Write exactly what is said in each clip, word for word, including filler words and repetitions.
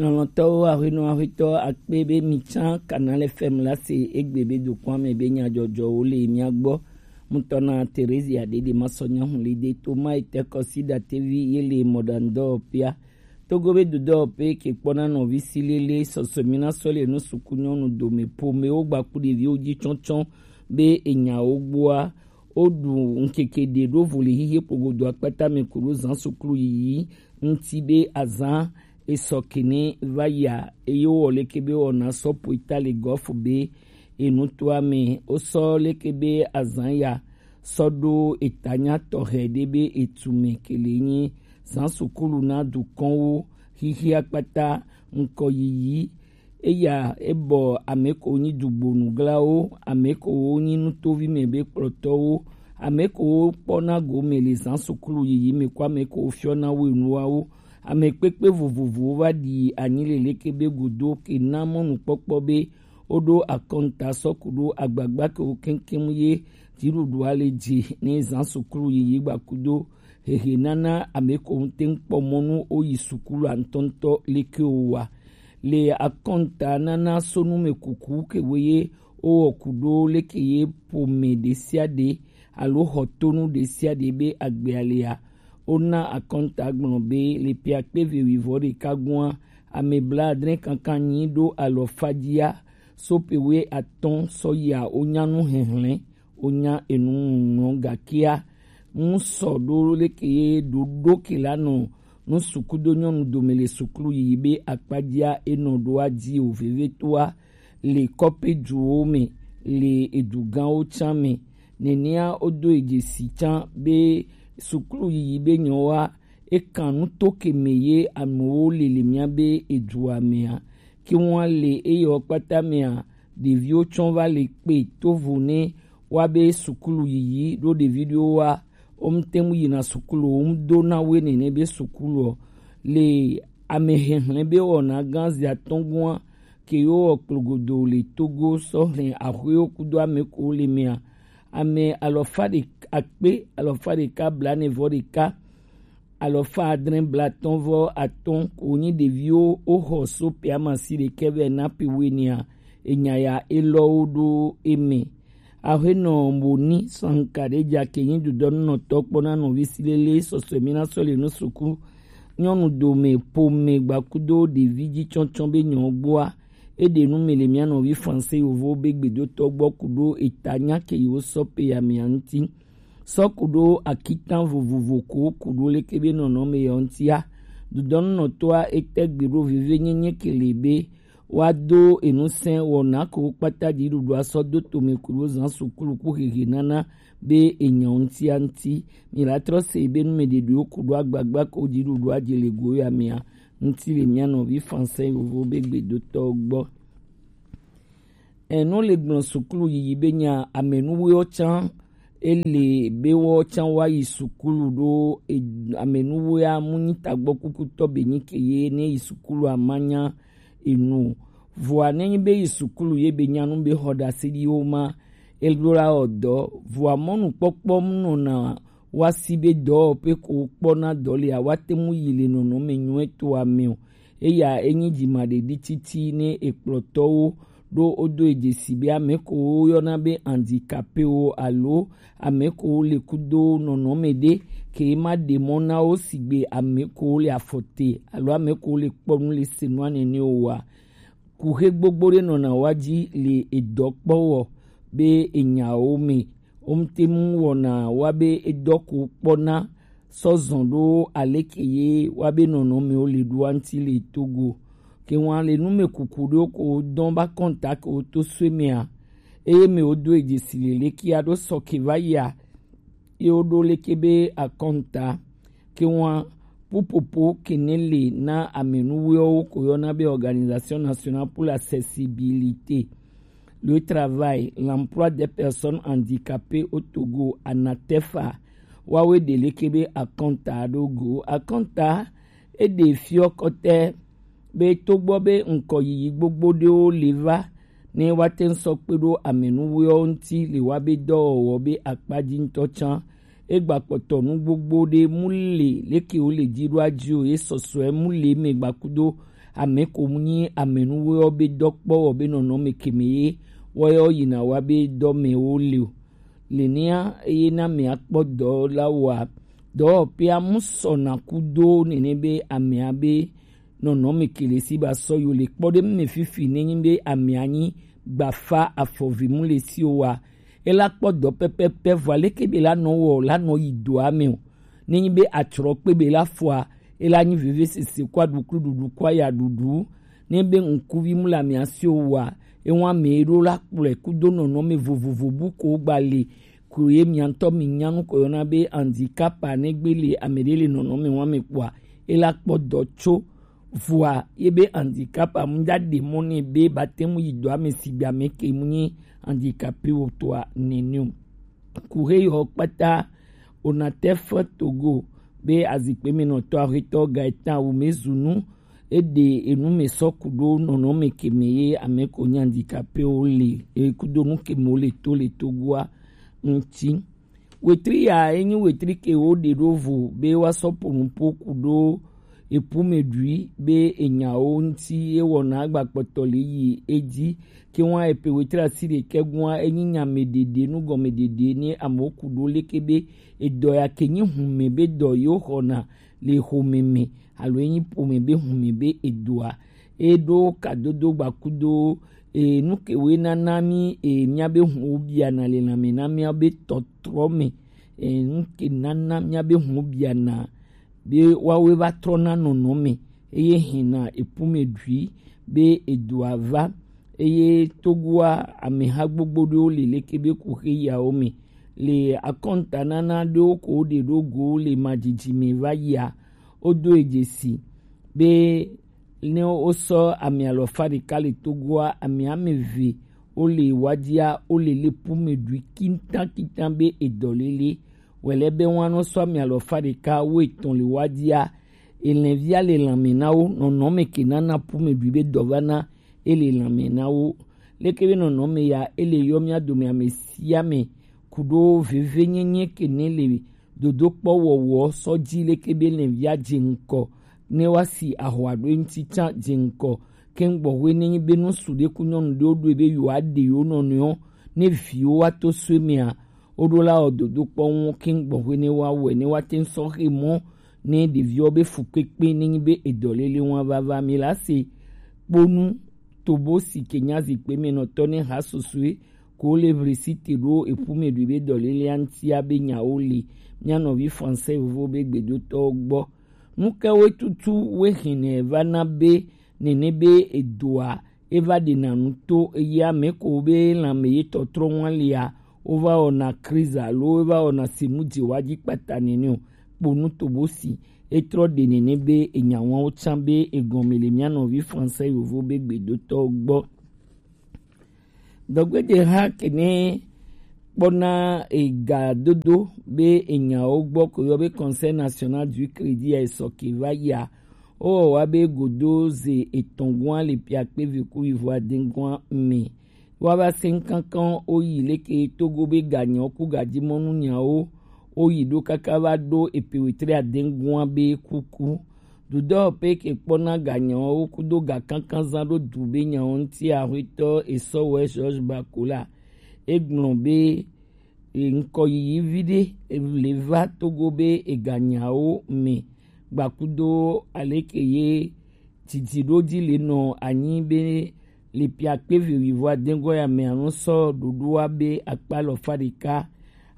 Lɔlɔ̃tɔwo, aƒenɔ aƒetɔ akpe be mi tsã Canal F M la se egbe be dokɔa me be nyadzɔdzɔwo le mia gbɔ. Mutɔ na Theresia Dede Masɔnya Hulide to ma ete kɔsi datevi ye le mɔɖaŋudɔwɔƒea. Togo be dodɔwɔƒe ke kpɔna nɔvi si lele sɔsɔe mi na sɔ le nu suku nyɔnu dome pomewo gbaku ɖeviwo dzi tsɔtsɔ be enyawo gbɔa woɖu ŋkeke ɖe ɖo vo le xixe kpogodo akpata me ku ɖo zã suklu yiyi ŋuti be azã esɔ kene va yia eye wowɔ leke be wɔna sɔ poita le gɔfu be enutoa me wosɔ leke be azã ya sɔ ɖo etanya tɔxɛ ɖe be etu me kele nyi zã sukulu na dukɔnwo xixia kpata ŋkɔ yiyi. Eya ebɔ ame ko nyi dugbonuglawo, ame ko wo nyi nutovi me be kplɔtɔwo, ame ko wo kpɔna gome le zã sukulu yiyi me ko ame ko wo fiɔna wo enuawo. Ame kpekpe vovovowo va ɖi anyi le leke be godo ke na mɔnukpɔkpɔ be woɖo akɔnta sɔ ku ɖo agbagba ke wo keŋkeŋ ye dziɖuɖua le dzi ne zã sukulu yiyi gbakudo hehe nana ame ko ŋute ŋkpɔ mɔnu wo yi sukulu antɔntɔ leke wo wa. Le akɔnta nana sonu me kuku ke wo ye wowɔ ku ɖo leke ye ƒome ɖe sia ɖe alo xɔtonu ɖe sia ɖe be agbea lea. Wona akɔnta gblɔ be le ƒe akpe eve wuievɔ ɖeka gɔa, ame blaadre kankan nyi ɖo alɔfa dzia, so ƒe wuiatɔ̃ sɔ yia wonya nu hehlẽ, wonya enu ŋlɔ gakea ŋu sɔ ɖo leke ye ɖoɖo ke la nɔ nu sukudo nyɔnu dome le sukulu yiyi be akpadzia enɔ ɖoa dzi o vevetoa le kɔƒe duwo me le edugãwo tsã me. Nenea wodo edze si tsã be sukulu yiyi be nyɔwoa ekan nuto ke me ye amewo le le mía be edua mea. Ke ŋua le eyɔ kpata mea ɖeviwo tsɔ va le kpe tovo ne wa be sukulu yiyi ɖo ɖevi ɖewo wa wo ŋute ŋu yina sukulu wo ŋu do na woe nene be sukulu ɔ le ame hehlẽ be wɔna gã zi atɔ̃ gɔa ke yewo wɔ kplogodo le Togo sɔ hlẽ axwewo kudo ame ko le mea. Ame alɔfa ɖe akpe alɔfa ɖeka blaene vɔ ɖeka alɔfa adre blatɔ̃ vɔ atɔ̃ ko nyi ɖeviwo woxɔ so ƒe amasi ɖekɛ vɛ na ƒe wuienea. Enya ya elɔwo ɖo eme. Aƒenɔ Moni Sankaɖeja ke nyi dudɔnunɔtɔ kpɔna nɔvi si lele sɔsɔe mi na sɔ le nu suku nyɔnu dome ƒome gbakudo ɖevi dzi tsɔtsɔ be nyɔ gbɔa. Eɖe nu me le mía nɔvi Fransɛ yovo be gbedotɔ gbɔ ku ɖo eta nya ke yewo sɔ pe ya mea ŋuti. Sɔ ku ɖo akitan vovovo ko ku ɖo leke be nɔnɔme ya ŋutia. Dudɔnunɔtɔa ete gbe ɖo veve nyenye ke le be woado enusẽ wɔna ko kpata dziɖuɖua sɔ do tome ku ɖo zã sukulu ku hehe nana be enyɔ ŋutia ŋuti. Mi la trɔ se be numeɖeɖewo ku ɖo agbagba ko dziɖuɖua dze le go ya mea ŋuti le mía nɔvi Fransɛ yovo be gbedotɔ gbɔ. Enu le gblɔ sukulu yiyi be nya amenuwoewo tsã ele be wo tsã wa yi sukulu ɖo e- amenuwoea mu nyi tagbɔ kukutɔ be nyi ke ye ne yi sukulu amanya enu o. Vɔa ne nyi be yi sukulu ye be nyanu be xɔ ɖase ɖi wo ma eɖo la wɔ dɔ vɔa mɔnukpɔkpɔ mu nɔna wa si be dɔwɔƒe ko kpɔna dɔ lea wa te mu yi le nɔnɔme nyuietɔa me o. Eya enyi dzimaɖeɖi titi ne ekplɔtɔwo ɖo wodo edzesi be ame ko woyɔna be handicapéwo alo ame ko le kudo nɔnɔme ɖe ke ma ɖe mɔ na wo sigbe ame ko le afɔte alo ame ko le kpɔ nu le se nua nene o wa. Kuxe gbogbo ɖe nɔna wa dzi le edɔ kpɔ wɔ be enyawo me. Wo ŋute mu wɔna wa be edɔ ko kpɔna sɔ zɔn ɖo aleke ye wa be nɔnɔmewo le ɖoa ŋuti le Togo. Ke ŋua le nu me kuku ɖewo ko dɔn ba kɔnta ke wo to sue mea. Eye me wo do edzesi le leke aɖo sɔ ke va yia. Ye wo ɖo leke be akɔnta. Ke ŋua pupopo ke ne le na amenuwoewo ko yɔna be Organisation Nationale pour l'Accessibilité, le Travail, l'Emploi des Personnes Handicapées au Togo, ANATEFA, wawe ɖe leke be akɔnta ɖo go. Akɔnta eɖe fiɔ kɔtɛ be togbɔ be ŋkɔ yiyi gbogbo ɖewo le va ne woate ŋu sɔ kpe ɖo amenuwoewo ŋuti le wa be dɔwɔwɔ be akpa dzi ŋutɔ tsã. Egba kpɔtɔ nu gbogbo ɖe mu le leke wo le dzi ɖo adzi o ye sɔsɔe mu le me gbakudo Ame ko mu nyi amenuwe ɔ be dɔ kpɔ wɔ be nɔnɔme keme ye wɔ yɔ yina wa be dɔ me wo le o. Le nia eye na me akpɔ dɔ la wa dɔ pe amu sɔ na ku do nene be amea be nɔnɔme kele si ba sɔ yo le kpɔ ɖe me fifi ne nyi be amea nyi gbafa afɔvi mu le si o wa. Ela kpɔ dɔ pɛpɛpɛ vɔ aleke be la nɔ wɔ la nɔ yi doa me o. Ne nyi be atrɔ kpe be la fɔa, ela nyi veve sese kɔ aɖuklu ɖuɖu kɔ aya ɖuɖu. Ne be ŋkuvi mu le amea si o wa, ewa me ɖo la kplɔe kudo nɔnɔme vovovo bu ko gba le ko ye mia ŋutɔ mi nya nu ko yɔna be handicap a ne gbe le ame ɖe le nɔnɔme wa me kpɔa, ela kpɔ dɔ tso vɔa ye be handicap a mu da ɖe mɔ ne be ba te mu yi dɔ ame si gbe ame ke mu nyi handicapé wo toa nene o. Kuhe yɔ kpata Onatef Togo be azikpe me nɔtɔ ahetɔ Gaetan Wumezunu eɖe enu me sɔ kudo nɔnɔme keme ye ame ko nyi handicapé wo le e kudo nu keme wo le to le Togoa ŋuti. Wetri ya enyi wetri ke wo ɖe ɖo vo be wa sɔ po nupo kudo epume ɖui be enyawo ŋuti ewɔna agbakpɔtɔ le yi edzi ke wa epe wetri asi ɖekɛ gua enyi nyame ɖeɖe nugɔme ɖeɖe ne amewo kudo leke be edɔ ya ke nyi hume be dɔ yewo xɔna le xome me alo enyi ƒome be hume be edoa. Eɖo kadodo gbakudo e, nu ke woe nana mí e, míabe huwo biana le lãme na míabe tɔtrɔ me. E, nu ke nana míabe huwo biana be woawoe va trɔna nɔnɔme eye hɛna epume ɖui be edoa va eye Togoa ameha gbogbo ɖewo le leke be kuxe yawo me le akɔntanana ɖewo ko woɖe ɖo go le madidi me va yia wodo e dzesi be ne wosɔ ame alɔfa ɖeka le Togoa, ame ame eve wole wadia wole le pume ɖui kintankintan be edɔlele. Wòle be woanɔ sɔ ame alɔfa ɖeka wo etɔn le wadia. Elɛvia le lãme na wo, nɔnɔme ke nana pume ɖui be dɔ va na ele lãme na wo. Leke be nɔnɔme ya ele yɔ mía dome ame sia ame kuɖo vevenyenye ke ne le dodokpɔ wɔwɔ sɔ dzi leke be lɛvia dze ŋkɔ ne woasi ahɔa ɖo eŋuti tsã dze ŋkɔ keŋ gbɔxwe ne nyi be nusu ɖe ku nyɔnu ɖewo ɖoe be yewoaɖe yewo nɔnɔewo ne viwo woato so emea woɖo la wɔ dodokpɔ ŋu keŋ gbɔxwe ne woawɔe ne woate ŋu sɔ xe mɔ ne ɖeviwo be fukpekpe ne nyi be edɔlele ŋu ava va mi la se kponu tobo si ke nya zikpe me nɔtɔ ne ha susue ko le vlesi te ɖo eƒu me ɖui be dɔlelea ŋutia be nyawo li mía nɔvi français vovo be gbedotɔwo gbɔ. Nu kawoe tutu woe hɛnɛ va na be nene be edoa eva ɖena nu to eye ame ko be lãme ye tɔtrɔ ŋua lia wova wɔna kriza alo wova wɔna sinu dzewa dzi kpata nene o. Kponu tobo si etrɔ ɖe nene be enyawawo tsã be egɔme le mía nɔvi français yovo be gbedotɔwo gbɔ. Dɔgbedzeha kene kpɔna ega dodo be enyawo gbɔ ko yɔ be Conseil National du Crédit ya esɔ ke va yia wowɔ wa be godo ze etɔn gua le piakpe vi ku yivo aden gua me. Woava sɛn kankan woyi leke Togo be ganyawo ku gadimɔnu nyawo woyi ɖo kaka va ɖo epe wetre adengua be kuku. Dudɔ pe ke kpɔna ganyawo kudo ga kankan zan ɖo du be nyawo ŋuti ahwetɔ esɔwɛ George Bakola egblɔ be ŋkɔ yiyi vi ɖe le va Togo be eganyawo me gbakudo aleke ye didi ɖo dzi le nɔ anyi be le piakpe vi wivo adengɔ ya me anɔ sɔ ɖoɖoa be akpa alɔfa ɖeka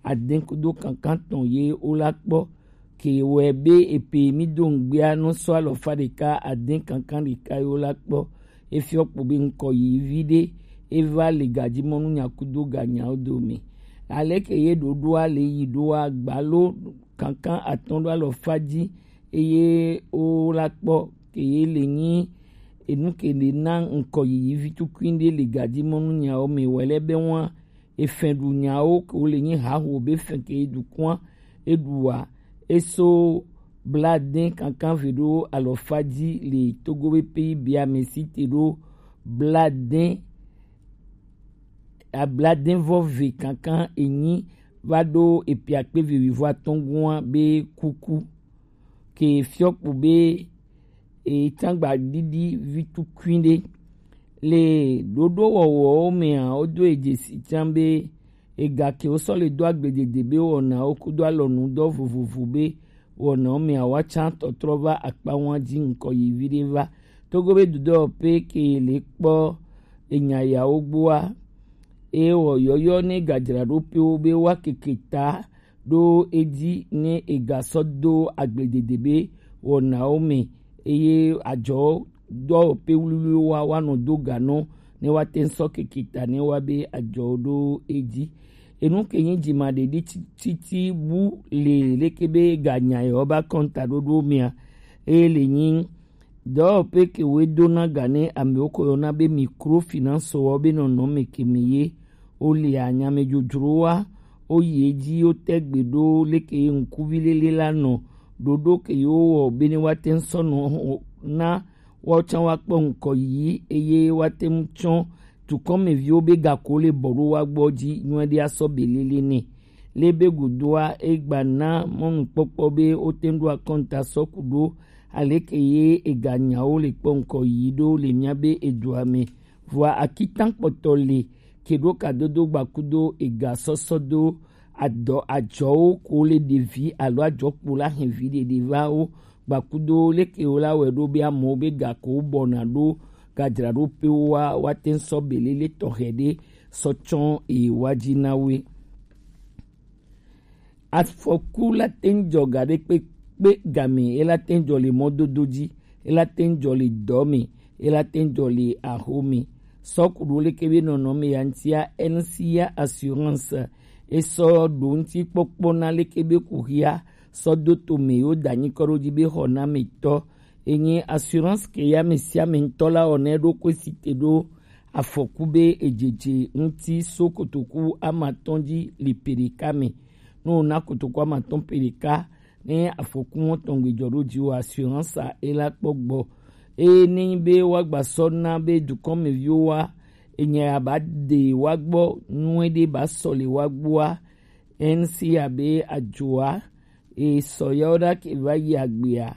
aden kudo kankan tɔn ye wola kpɔ ke wɛ be epe mi do ŋgbea nɔ sɔ alɔfa ɖeka aden kankan ɖeka ye wola kpɔ efiɔ kpo be ŋkɔ yi vi ɖe eva le gadimɔnu nyakudo ganyawo dome aleke ye ɖoɖoa le yi ɖoa gbalo kankan atɔn ɖo alɔfa dzi eye wola kpɔ ke ye le nyi enu ke le na ŋkɔ yiyi vi tukui ɖe le gadimɔnu nyawo me wɛlɛ be wa efɛn ɖu nyawo ke wo le nyi haho be fɛn ke ye dukua eɖua eso bladen kankan ve ɖo alɔfa dzi le Togo be P I B a me si te ɖo bladen abladen vɔ ve kankan enyi va ɖo epiakpe ve wivo atɔngua be kuku ke fiɔkpo be e tangba didi vitu kuinde. Le ɖoɖo wɔwɔwo mea, wodo e dzesi can be ega ke wosɔ le do agbledede be wɔnawo kudo alɔnudɔ vovovo be wɔnawo mea, woatsa tɔtrɔ va akpa ŋua dzi ŋkɔ yi viɖe va. Togo be dudɔ pe ke le kpɔ enya yawo gbɔa, eye wɔ yɔyɔ ne gadzraɖoƒewo be woakeke ta ɖo edzi ne egasɔ do agbledede be wɔnawo me, eye adzɔ dɔwɔƒe wluwluiwo wa woanɔ do ga nɔ ne woate ŋu sɔ keke ta ne woa be adzɔwo ɖo edzi. Enu ke nyi dzimaɖeɖi tsi- tsitsi bu le leke be ganya yewo be akɔnta ɖoɖo mea, eye le nyi dɔwɔƒe ke woe dona ga ne amewo ko yɔna be microfinance wɔ be nɔnɔme ke me ye wole anyamedzodzrowa woyi edzi wote gbe ɖo leke ye ŋkuvi lele la nɔ ɖoɖo ke yewo wɔ be ne woate ŋu sɔ nɔ na woawo tsã woakpɔ ŋkɔ yiyi eye woate ŋu tsɔ dukɔmeviwo be gako le bɔ ɖo woa gbɔ dzi nyuie ɖe asɔ be lele nɛ. Le be godoa, egba na mɔnukpɔkpɔ be wote ŋu ɖo akɔnta sɔ ku ɖo aleke ye eganyawo le kpɔ ŋkɔ yiyi ɖo le mía be edua me. Vɔa akitan kpɔtɔ le ke ɖo kadodo gbakudo egasɔsɔ do adɔ adzɔwo ko le ɖevi alo adzɔkpo la hɛn vi ɖeɖe va wo gbakudo leke wo la wɛ ɖo be amewo be gako bɔna ɖo gadzraɖoƒewo wa woate ŋu sɔ belele tɔxɛ ɖe sɔ tsɔ ewa dzi na woe. Afɔku la te ŋu dzɔ ga ɖe kpekpe game, e la te ŋu dzɔ le mɔdodo dzi, e la te ŋu dzɔ le dɔ me, e la te ŋu dzɔ le axo me. Sɔ ku ɖo leke be nɔnɔme ya ŋutia, N C A Assurance e sɔ ɖo ŋuti kpɔkpɔ na leke be kuxia sɔ do to me yo da nyikɔ ɖo dzi be xɔnametɔ. Enye assurance ke ya ame sia ame ŋutɔ la wɔ ne ɖo ko si te ɖo afɔku be edzedze ŋuti so kotoku amatɔn dzi li peɖeka me. Ne wona kotoku amatɔn peɖeka, ne afɔku mɔtɔn gbe dzɔ ɖo dzi wo assurance a e la kpɔ gbɔ. Eye ne nyi be woagba sɔ na be dukɔmeviwo wa, enya ya ba de wa gbɔ nyuie ɖe ba sɔ le wa gbɔa, N C A be adzoa e sɔ yawo ɖa ke va yi agbea,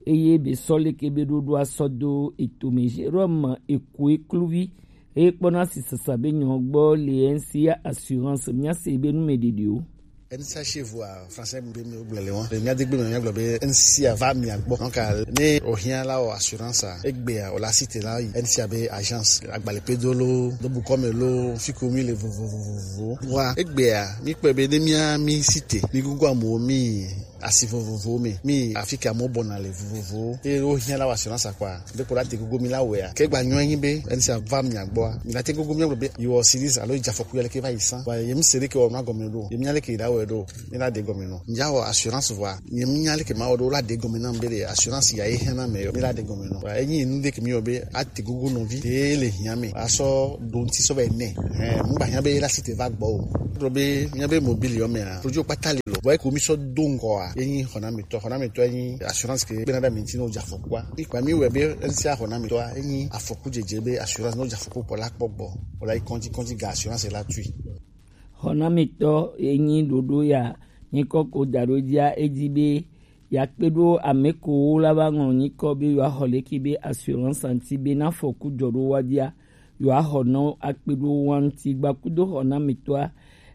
eye be sɔ leke be ɖoɖoa sɔ do etome. Jérôme Ekoe kluvi eye kpɔna sisasa be nyɔ gbɔ le N C A Assurance mía se be nu me ɖeɖewo. N C A chez vous a français be mi gblɔ le wɔn. Le mía de gbe me mía gblɔ be N C A va mia gbɔ. Donc ne o hiã la o assurance a, egbea o la cité la yi N C A be agence, agbalẽ pe do lo, do bukɔ me lo, fi ko mi le vovovovovo. Wa egbea mi kpɔe be ne mía mi cité, mi gugu amewo mi asi vovovowo me, mi afi ke amewo bɔna le vovovowo. Eye wo hiã la wɔ assurance akpa, be kpo la te gogo mi la wɛa. Ke gba nyɔ nyi be N C A va mia gbɔa, mi la te gogo mi gblɔ be yi wɔ series alo yi dza afɔku ya leke va yi san. Wa ye mi se leke wɔ nua gɔme ɖo. Ye mi nya leke yi la wɛ ɖo. Mi la de gɔme nɔ. Mi dza wɔ assurance vɔa. Ye mi nya leke ma wɔ ɖo la de gɔme na mi be le assurance ya ye hiã na me yɔ. Mi la de gɔme nɔ. Wa enyi nu de ke mi yɔ be a te gogo nɔvi. Te le hiã me. A sɔ ɖo ŋuti sɔ va yi nɛ. Ɛ, mu gba hiã be la cité va gbɔ o. Gblɔ be mía be mobile yɔ mea, produit kpata le lɔ. Vɔ eko mi sɔ do ŋgɔa, enyi xɔnametɔ, xɔnametɔ enyi assurance ke gbena ɖe mi ŋuti ne wodze afɔkua. Mi kpa mi wɛ be N C A xɔnametɔa enyi afɔku dzedze be assurance ne wodze afɔku kpɔ la kpɔ gbɔ. Wòla yi kɔndzi, kɔndzi ga assurance la tui. Xɔnametɔ enyi ɖoɖo ya nyikɔ ko da ɖo dzia edzi be yeakpe ɖo ame kowo la va ŋlɔ nyikɔ be yewoaxɔ leke be assurance ŋuti be ne afɔku dzɔ ɖo woa dzia, yewoaxɔ nɔ akpe ɖo woa ŋuti. Gbakudo xɔnametɔa,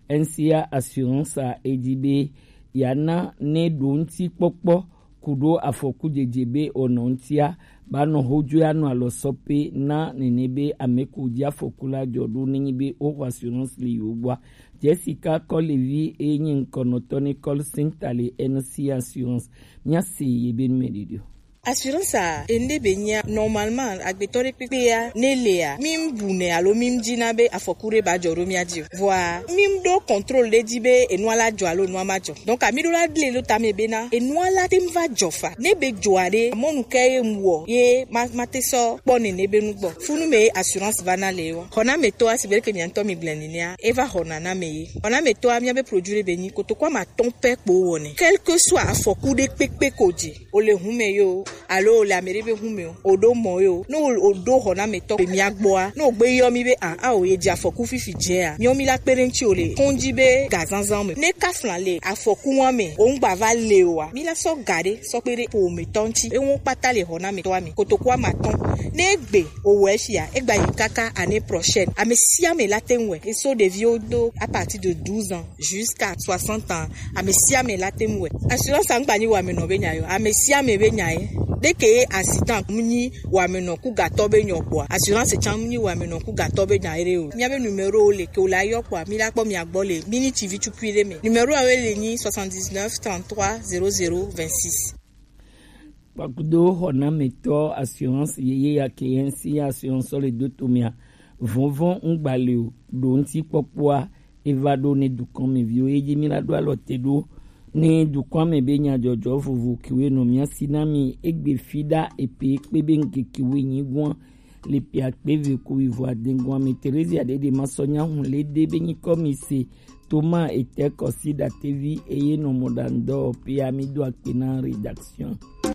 N C A Assurance a edi be yeana ne ɖo ŋuti kpɔkpɔ ku ɖo afɔku dzedze be wònɔ ŋutia, ba nɔ hodzo anɔ alɔ sɔ pe na nene be ame ko dzi afɔku la dzɔ ɖo nenyi be woxɔ assurance le yewo gbɔa. Jessica Kɔlevi eye nyi ŋkɔnɔtɔ ne call center le N C A Assurance. Mía se ye be nu me ɖiɖi o. Assurance a, ende be nyia, normalement, agbetɔ ɖe kpekpe ya, ne lea, mi bu nɛ alo mi dzi na be afɔku ɖe ba dzɔ ɖo mía dzi o. Vɔa, mi ɖo contrôle ɖe dzi be enua la dzɔ alo enua ma dzɔ. Donc, mi ɖo la gle lo tame be na, enua la te va dzɔ fa. Ne be dzɔa ɖe, mɔnu ke ye mu wɔ, ye ma, ma te sɔ kpɔ nene be nu gbɔ. Funu me assurance va na le wa. Xɔnametɔa, si be ke mia ŋutɔ mi gblẽ nenea, eva xɔna na me ye. Xɔnametɔa, mía be produit ɖe be nyi, kotoku ama atɔ̃ pɛ kpo wɔnɛ. Quel que soit afɔku ɖe kpekpe ko dzi, o le hu me yo, Alo o le ame ɖe be hun me o, o ɖo mɔ ye o. Ne o o ɖo xɔnametɔ be mía gbɔa, ne o gbe yɔ mi be a a o ye dze afɔku fifi dze a, miɔ mi la kpe ɖe ŋuti o le kɔn dzi be ga zanzan me. Ne ka flan le afɔku wa me o ŋgba va le o a, mi la sɔ ga ɖe sɔ kpe ɖe ƒometɔ ŋuti. Ewo kpata le xɔnametɔa me. Kotoku ame atɔ̃. Ne egbe o wɔ efia, egba yi kaka année prochaine. Ame sia ame la te ŋu wɛ. Eso ɖeviwo do à partir de douze ans jusqu'à soixante ans. Ame sia ame la te ŋu wɛ. Assurance a ŋgba nyi wamenɔ be nya yo. Ame sia ame be nya ye. Ɖeke ye accident mu nyi wamenɔ ku gatɔ be nyɔ kpɔa. Assurance tsan mu nyi wamenɔ ku gatɔ be nya ye ɖe o. Mía be numéro le ke o la yɔ kpɔa. Mi la kpɔ mía gbɔ le miniti vi tukui ɖe me. Numéro a we le nyi soixante-dix-neuf trente-trois zéro zéro vingt-six. Kpakudo xɔnametɔ assurance yeye ya ke yɛn si assurance le do to mia. Vɔvɔn ŋgba le o, ɖo ŋuti kpɔkpɔa eva ɖo ne dukɔn me viwo ye dzi mi la ɖo alɔ te ɖo ne dukɔn me be nyadzɔdzɔ vovo kewe nɔ mia si na mi egbe fi ɖa epe kpe be ŋkeke we nyi gɔn le pia kpe ve ku wi vɔ adengun ame Teresia ɖe ɖe ma sɔ nya hun le ɖe be nyikɔ mi se Thomas ete kɔsi ɖatevi eye nɔ mɔ ɖa ŋdɔ pia mi do akpe na rédaction.